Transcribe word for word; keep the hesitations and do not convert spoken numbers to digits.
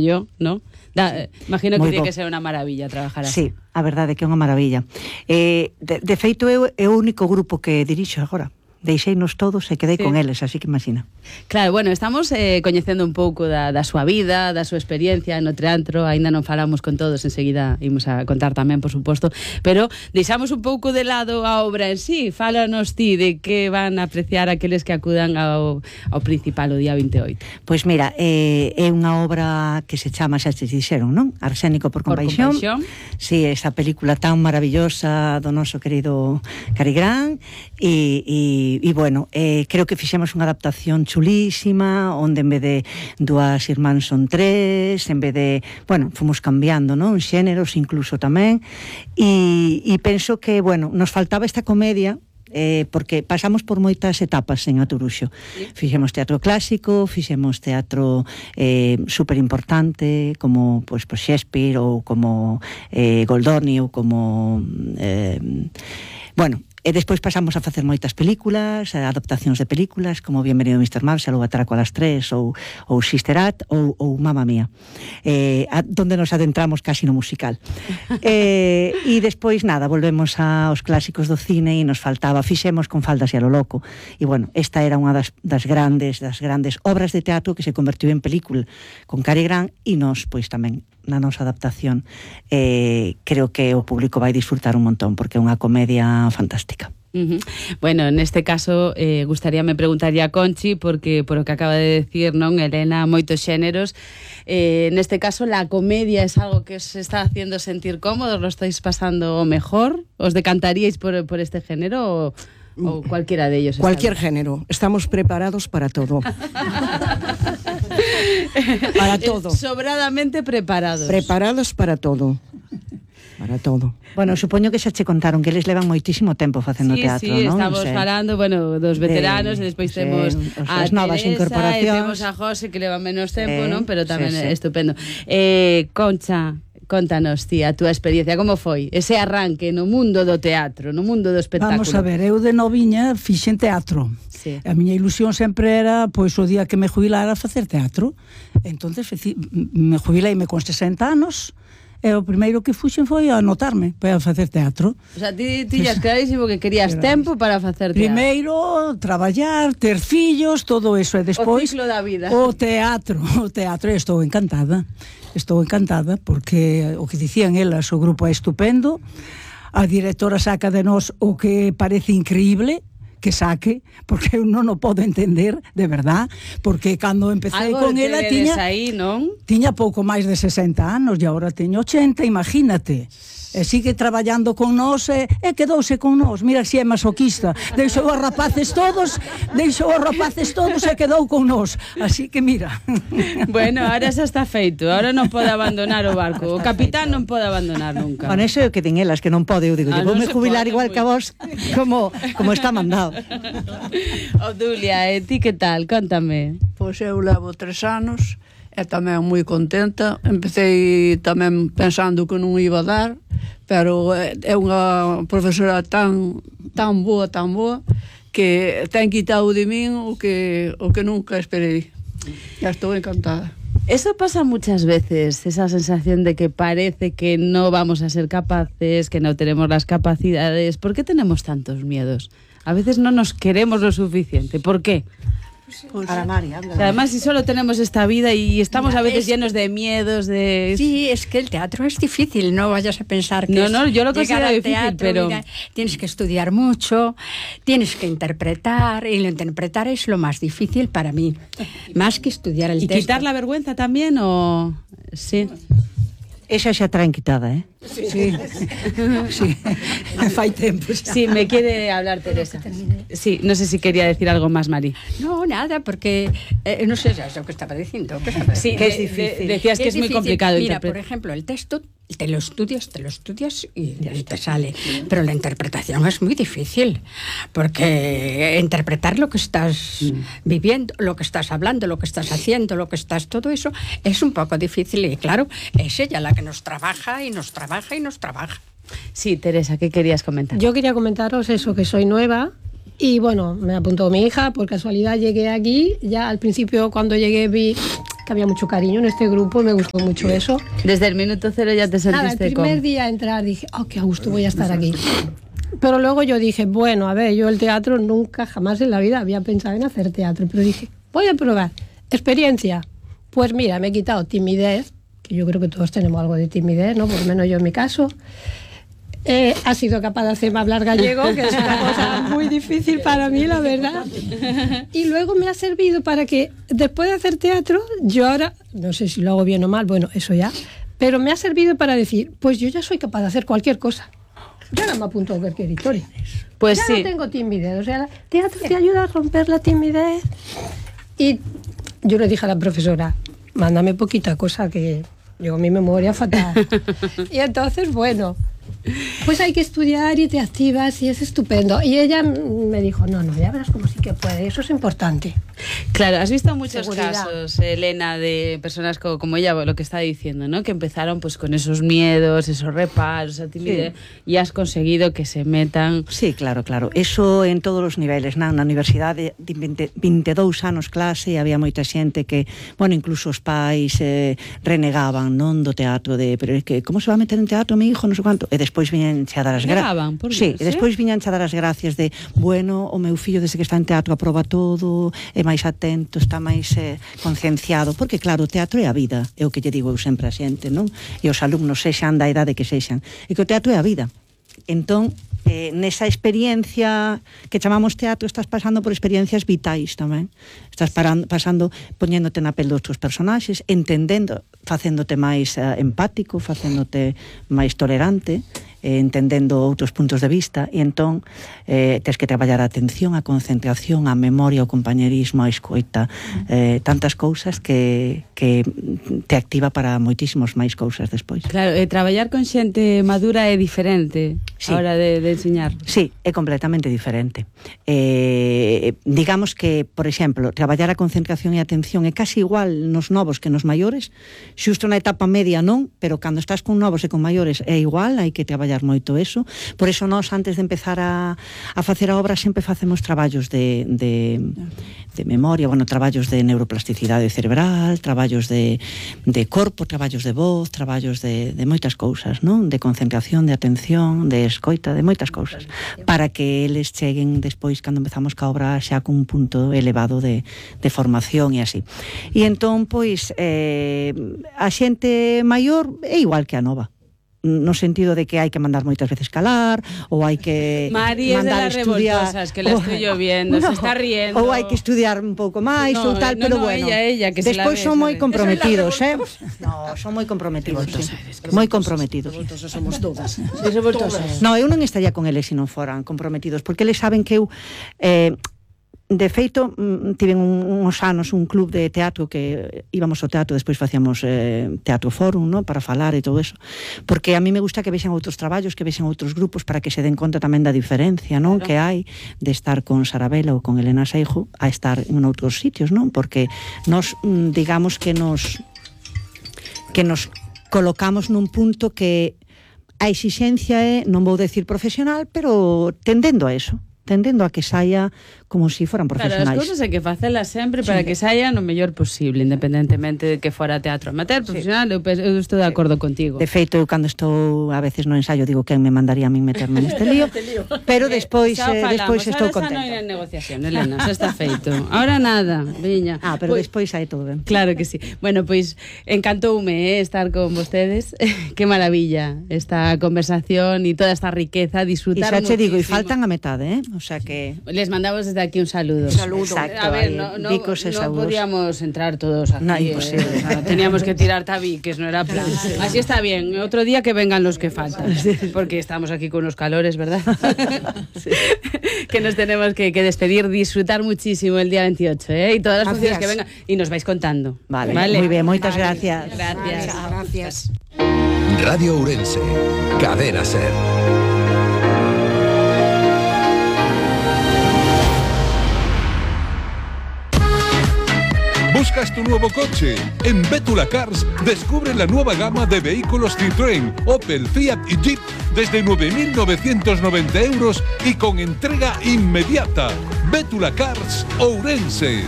yo, ¿no? Da, imagino que tiene que ser unha maravilla trabajar así. Sí, a verdade é que é unha maravilla. Eh, de, de feito, é, é o único grupo que dirixo agora. Deixeinos todos e quedei sí. con eles, así que imagina. Claro, bueno, estamos eh, coñecendo un pouco da, da súa vida, da súa experiencia no teatro, aínda non falamos con todos, enseguida imos a contar tamén, por suposto, pero deixamos un pouco de lado a obra en sí. Fálanos ti de que van a apreciar aqueles que acudan ao, ao principal o día vinte e oito. Pois mira, eh, é unha obra que se chama, xa se dixeron, non? Arsénico por compaixón. Por compaixón. Sí, esa película tan maravillosa do noso querido Cary Grant e, e E, bueno, eh, creo que fixemos unha adaptación chulísima, onde en vez de dúas irmáns son tres, en vez de, bueno, fomos cambiando, non? Xéneros incluso tamén, e, e penso que, bueno, nos faltaba esta comedia, eh, porque pasamos por moitas etapas en Aturuxo. Fixemos teatro clásico, fixemos teatro eh, super importante, como pues, pues Shakespeare, ou como eh, Goldoni, ou como... Eh, bueno... E despois pasamos a facer moitas películas, adaptacións de películas, como Bienvenido mister Marshall, ou Atraco a las tres, ou, ou Sister Act, ou, ou Mamma Mía, eh, a, donde nos adentramos casi no musical. eh, e despois, nada, volvemos aos clásicos do cine e nos faltaba, fixemos Con faldas e a lo loco. E, bueno, esta era unha das, das grandes das grandes obras de teatro que se convertiu en película con Cary Grant, e nos, pois, tamén na nosa adaptación eh, creo que o público vai disfrutar un montón porque é unha comedia fantástica. Uh-huh. Bueno, neste caso eh, gustaríame preguntarlle a Conchi, porque por o que acaba de decir, non, Elena, moitos xéneros, eh, neste caso la comedia es algo que os está haciendo sentir cómodos, lo estáis pasando mejor, os decantaríais por, por este género o, o cualquiera de ellos? Cualquier género, estamos preparados para todo. Para todo. Sobradamente preparados. Preparados para todo. Para todo. Bueno, supoño que xa che contaron que eles levan moitísimo tempo facendo sí, teatro, sí, non? estamos o sea, falando, bueno, dos veteranos, de, e despois sí, temos a as novas Teresa, incorporacións, e temos a José, que leva menos tempo, eh, non? Pero tamén sí, é sí. estupendo. Eh, Concha, contanos, tía, a túa experiencia, como foi ese arranque no mundo do teatro, no mundo do espectáculo? Vamos a ver, eu de noviña fixen teatro. Sí. A miña ilusión sempre era, pois, o día que me jubilara, facer teatro. Entonces, me jubileime con sesenta anos, e o primeiro que fuxen foi a anotarme para facer teatro. O sea, ti tiñas clarísimo que querías tempo para facer teatro. Primeiro, traballar, ter fillos, todo eso, e despois... O ciclo da vida. O teatro, o teatro, e estou encantada. Estou encantada, porque o que dicían elas, o grupo é estupendo, a directora saca de nós o que parece increíble, que saque, porque eu non o podo entender, de verdad, porque cando empecé algo con ela tiña aí, non? tiña pouco máis de sesenta anos e agora teño ochenta, imagínate. E sigue traballando con nós e, e quedouse con nós. Mira si é masoquista. Deixou os rapaces todos, deixou os rapaces todos e quedou con nós. Así que mira. Bueno, ahora xa está feito. Ahora non pode abandonar o barco. O capitán non pode abandonar nunca. Con eso é o que din elas, que non pode. Eu digo, ah, vou me jubilar igual que a vos, como, como está mandado. Obdulia, e ti que tal? Contame. Pois eu levo tres anos e tamén moi contenta. Empecé tamén pensando que non iba a dar, pero é unha profesora tan tan boa, tan boa, que ten quitado de min o que, o que nunca esperei. Ya estou encantada. Eso pasa muchas veces, esa sensación de que parece que no vamos a ser capaces, que no tenemos las capacidades. ¿Por qué tenemos tantos miedos? A veces no nos queremos lo suficiente. ¿Por qué? Pues, Para María, o sea, además, si solo tenemos esta vida y estamos Mira, a veces es, llenos de miedos, de... Sí, es que el teatro es difícil, no vayas a pensar que no, es no, yo lo considero llegar al difícil, teatro, pero... mira, tienes que estudiar mucho, tienes que interpretar, y lo interpretar es lo más difícil para mí, más que estudiar el ¿Y texto. quitar la vergüenza también o...? Sí. Esa xa traen quitada, eh? Sí, sí. Sí. Fai tempo xa. Sí, me quiere hablar Teresa. Sí, no sé si quería decir algo más, Mari. No, nada, porque eh, no sé, es lo que estaba diciendo. ¿Qué estaba sí, diciendo? que es difícil. De, decías que es, es muy complicado. Mira, por ejemplo, el texto te lo estudias, te lo estudias y, y te sale. Pero la interpretación es muy difícil, porque interpretar lo que estás mm. viviendo, lo que estás hablando, lo que estás haciendo, lo que estás, todo eso, es un poco difícil. Y claro, es ella la que nos trabaja y nos trabaja y nos trabaja. Sí, Teresa, ¿qué querías comentar? Yo quería comentaros eso, que soy nueva y bueno, me apuntó mi hija, por casualidad llegué aquí, ya al principio cuando llegué vi que había mucho cariño en este grupo, me gustó mucho eso. Desde el minuto cero ya te sentiste Nada, el primer con... día a entrar dije, oh, qué a gusto voy a estar aquí. Pero luego yo dije, bueno, a ver, yo el teatro nunca, jamás en la vida había pensado en hacer teatro, pero dije, voy a probar. Experiencia. Pues mira, me he quitado timidez, que yo creo que todos tenemos algo de timidez, ¿no? Por lo menos yo en mi caso. Eh, ha sido capaz de hacerme hablar gallego, que es una cosa muy difícil para mí, la verdad. Y luego me ha servido para que, después de hacer teatro, yo ahora, no sé si lo hago bien o mal, bueno, eso ya, pero me ha servido para decir, pues yo ya soy capaz de hacer cualquier cosa. Yo ahora me apunto a cualquier historia. Pues ya sí. no tengo timidez, o sea, el teatro te ayuda a romper la timidez. Y yo le dije a la profesora, mándame poquita cosa, que yo mi memoria fatal. Y entonces, bueno, pues hay que estudiar y te activas y es estupendo. Y ella me dijo, no, no, ya verás cómo sí que puede, eso es importante. Claro, has visto muchos Seguridad. casos, Elena, de personas como, como ella, lo que está diciendo, ¿no? Que empezaron pues con esos miedos, esos reparos, esa timidez, sí. Y has conseguido que se metan... Sí, claro, claro. Eso en todos os niveles, na, na universidade de vinte, veintidós anos clase, había moita xente que, bueno, incluso os pais eh, renegaban, non, do teatro, de, pero é que, como se va a meter en teatro mi hijo, non sei quanto, e despois viñan xa dar as gracias. Sí, e despois viñan xa dar as gracias de, bueno, o meu fillo desde que está en teatro aproba todo, é máis atento, está máis eh, concienciado, porque claro, o teatro é a vida, é o que lle digo eu sempre a xente, non? E os alumnos sexan da idade que sexan, e que o teatro é a vida. Entón, eh, nesa experiencia que chamamos teatro, estás pasando por experiencias vitais tamén. Estás parando, pasando, poñéndote na pel dos teus personaxes, entendendo, facéndote máis eh, empático, facéndote máis tolerante, eh, entendendo outros puntos de vista, e entón eh, tens que traballar a atención, a concentración, a memoria, o compañerismo, a escoita, eh, tantas cousas que, que te activa para moitísimos máis cousas despois. Claro, eh, traballar con xente madura é diferente sí. a hora de, de enseñar. Sí, é completamente diferente. Eh, digamos que, por exemplo, traballar a concentración e a atención é casi igual nos novos que nos maiores, xusto na etapa media non, pero cando estás con novos e con maiores é igual, hai que traballar moito eso. Por eso nós, antes de empezar a, a facer a obra, sempre facemos traballos de, de, de memoria, bueno, traballos de neuroplasticidade cerebral, traballos de, de corpo, traballos de voz, traballos de, de moitas cousas, non? De concentración, de atención, de escoita, de moitas cousas, para que eles cheguen despois, cando empezamos ca obra, xa con un punto elevado de, de formación e así. E entón, pois, eh, a xente maior é igual que a nova, no sentido de que hai que mandar moitas veces calar, ou hai que Mari mandar es de las estudiar, revoltosas, que la estoy yo viendo, no, se está riendo. Ou hai que estudiar un pouco máis, no, ou tal, no, pero no, bueno. Ella, ella, que despois se la son ve, moi ¿sabes? comprometidos, eh? No, son moi comprometidos, sí. Moi comprometidos. Revoltosos somos todas. Sí, revoltosas. No, eu non estaría con eles se non foran comprometidos, porque eles saben que eu eh, de feito, tiven un, uns anos un club de teatro que íbamos ao teatro, despois facíamos eh, teatro fórum, no? Para falar e todo eso, porque a mí me gusta que vexan outros traballos, que vexan outros grupos, para que se den conta tamén da diferencia, non? Claro. Que hai de estar con Sarabela ou con Elena Seijo a estar en outros sitios, non? Porque nos, digamos que nos que nos colocamos nun punto que a exixencia é, non vou decir profesional, pero tendendo a eso, tendendo a que saia como si foran profesionais. Claro, as cousas hai que facelas sempre para sí. que saian o mellor posible, independentemente de que fora teatro amateur, profesional, sí. eu, eu estou de acordo contigo. De feito, eu cando estou a veces no ensayo digo quen me mandaría a min meterme neste lío, pero despois eh, despois estou contenta. Ahora xa non hai negociación, Elena, xa está feito. Ahora nada, viña. Ah, pero pues, despois hai todo ben. Claro que sí. Bueno, pois pues, encantoume eh, estar con vostedes. Qué maravilla esta conversación e toda esta riqueza, disfrutar. E xa che digo, e faltan a metade, eh? O sea que les mandamos desde aquí un saludo. Un saludo. Exacto, a ver, no, no, no podíamos entrar todos aquí. No, imposible. Eh, o sea, teníamos que tirar tabiques, no era plan. Sí. Así está bien. Otro día que vengan los que faltan. Porque estamos aquí con unos calores, ¿verdad? Sí. Que nos tenemos que, que despedir, disfrutar muchísimo el día veintiocho, ¿eh? Y todas las funciones que vengan. Y nos vais contando. Vale, vale. Muy bien, muchas vale. gracias. Gracias. Vale, gracias. Radio Ourense, Cadena Ser. ¿Buscas tu nuevo coche? En Bétula Cars descubre la nueva gama de vehículos Citroën, Opel, Fiat y Jeep desde nueve mil novecientos noventa euros y con entrega inmediata. Bétula Cars Ourense.